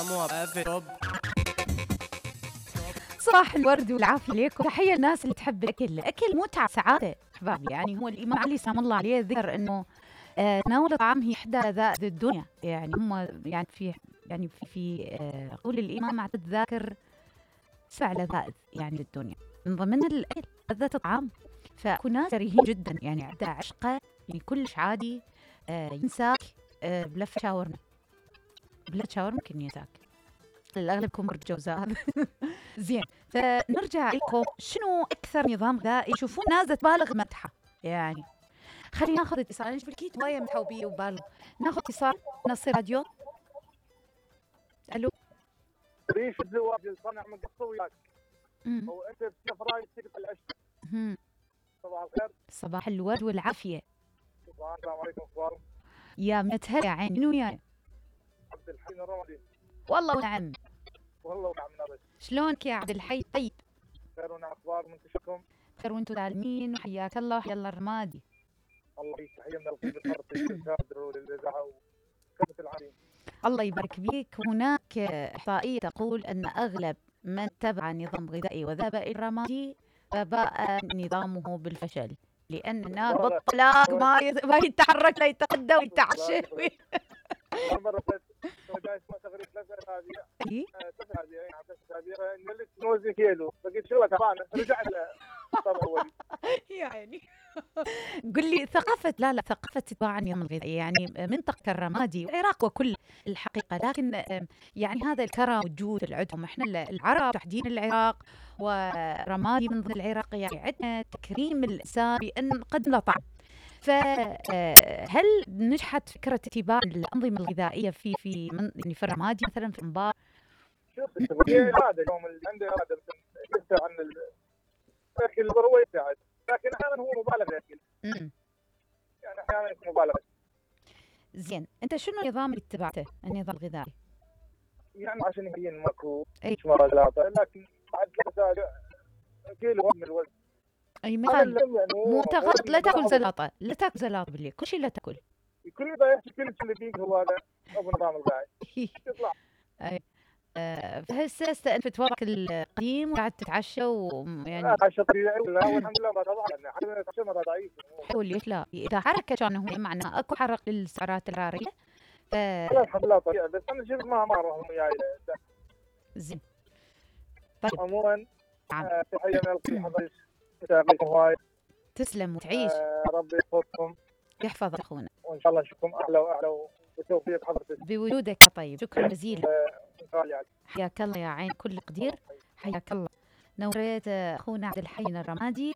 يرحموها في رب. صباح الورد والعافية عليكم. تحية الناس اللي تحب الأكل. الأكل متعة سعادة أحبابي. يعني هو الإمام علي سلام الله عليه ذكر إنه تناول الطعام هي إحدى لذائذ الدنيا. يعني هم يعني في قول الإمام عدد ذاكر 7 لذائذ يعني الدنيا، من ضمن الأكل لذة الطعام. فكنا كريهين جدا يعني عندها عشقة، يعني كلش عادي ينساك بلف شاورما. بلف شاورما ممكن ينساك، الأغلب يكون برج جوزاء. زين، فنرجع لكم. شنو أكثر نظام غذائي يشوفون ناس تبالغ مدحه؟ يعني خلينا ناخذ اتصال. أنا بالكيت وايد مدحوا بيه وبالغ. ناخذ اتصال. نصير راديو. ألو. ريش الزواج الصنع من قصه وياك. هو انت بسفراي تقطع العشق. صباح الخير. صباح الورد والعافيه. السلام عليكم. اخبارك؟ يا متهلا يا عين. منو وياي؟ عبد الحي الرمادي. والله ونعم. والله ونعم نبش. شلونك يا عبد الحي؟ طيب خير ونعم. اخبار منتشكم؟ خير وانتم سالمين، وحياك الله وحيا الله الرمادي. الله يعيش. تحيه من القلب الفرطي للكادر وللاذاعه وكافه العالمين. الله يبارك بيك. هناك احصائيه تقول ان اغلب من تبع نظام غذائي وذهب الى الرمادي فباء نظامه بالفشل، لان الناس بالطلاق ما يتحرك لا يتغدى ويتعشى. مرة جاي اسمه تغريد 3 اسابيع. 3 اسابيع يعني 3 اسابيع نلت نوزن كيلو، فقلت شو تعبانه رجع طبعا اولي. يعني قل لي ثقافة ثقافة اتباع النظام الغذائي يعني منطقة الرمادي والعراق وكل الحقيقة، لكن يعني هذا الكرم والجود اللي عندهم احنا العرب تحديدا العراق ورمادي من ضمن العراق، يعني عندنا تكريم الإنسان بأن نقدم له طعم. فهل نجحت فكرة اتباع الأنظمة الغذائية في يعني في الرمادي مثلا في انبار؟ شوف هي إرادة، اليوم اللي عنده إرادة يدافع عن الأكل هو يساعد، لكن أحيانا هو مبالغ بالأكل. يعني أحيانا يكون مبالغة. زين، أنت شنو النظام اللي اتبعته النظام الغذائي؟ يعني عشان يبين ماكو مراجعات، لكن بعد 3 أسابيع كيلو من الوزن. اي مثال مو تغلط. لا تاكل زلاطه، لا تاكل زلاطه بالليل، كل شيء لا تاكل. كل ده يحكي كل اللي فيك هو هذا ابو نظام الغذائي. يطلع اي فهسه انت تتورك القديم وقاعد تتعشى ويعني عشا طبيعي. لا والحمد لله ما طبعا احنا نتعشى ما ضعيف. ليش لا؟ اذا حركه كان هو معناه اكو حرق للسعرات الحراريه. لا الحمد لله طبيعي، بس انا شفت ما راهم وياي. زين طيب عموما تحيه من القلب حضرتك. يسعدكم هواي. تسلم وتعيش. ربي يحفظكم يحفظ اخونا، وان شاء الله نشوفكم احلى واحلى وبتوفيق حضرتك بوجودك. طيب شكرا جزيلا. حياك الله يا عين كل قدير. حياك الله. نوريت اخونا عبد الحي الرمادي